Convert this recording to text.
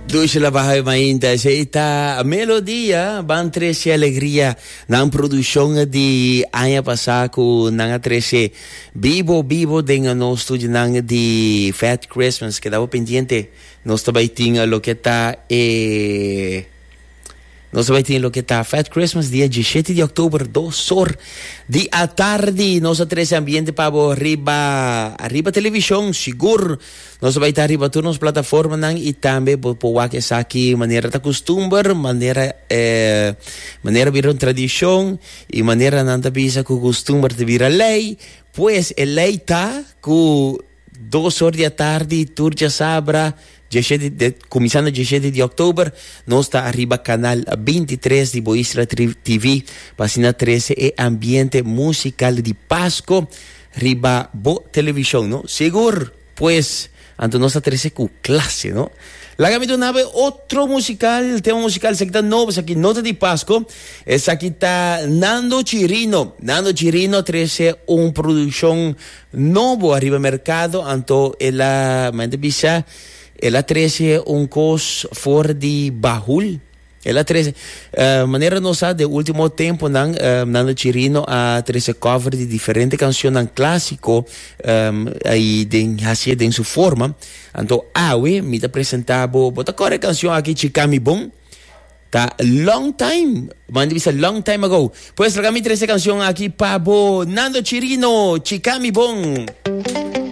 Dushi la baha mainta esei ta melodia ban trece alegria nan produccion di aña pasa cu nan a trece bibo bibo den nos studionan di Fat Christmas keda bo pendiente nos ta bay tin loke ta e Nos ta bai tin loke ta Fat Christmas dia 17 di oktober dos or di atardi. Nos a trece ambiente pa bo riba riba television sigur. Nos ta bai ta riba tur nos plataformanan y tambe bo por wak esaki manera ta custumber, manera eh, manera bira un tradicion y manera nan ta bisa cu custumber ta bira ley. Pues e ley ta cu Dos or di atardi tur djasabra, djeshete de, kuminsando djeshete di òktober, nos ta ariba kanal 23 di Bo Isla TV pa asina trese e ambiente musikal di Pasko riba bo televishon, no? Sigur! Pues, anto nos ta trese ku klase, no? Laga mi duna bo e otro musikal, tema musikal, esaki ta nobo, esaki no ta di Pasko, esaki ta Nando Chirino. Nando Chirino a trese un produkshon Nobo ariba mercado anto el a men ta bisa el a trece un cos for di bahul el a trece manera nos sa de ultimo temponan Nando Chirino a trece cover di diferente cancionnan clasico y den hacié den su forma anto awe mi ta presenta bo bo ta corda e cancion aki Chicami Bon. Ta long time, man di bisa long time ago. Pues laga mi trece cancion aki pa bo, Nando Chirino, Chica mi bon.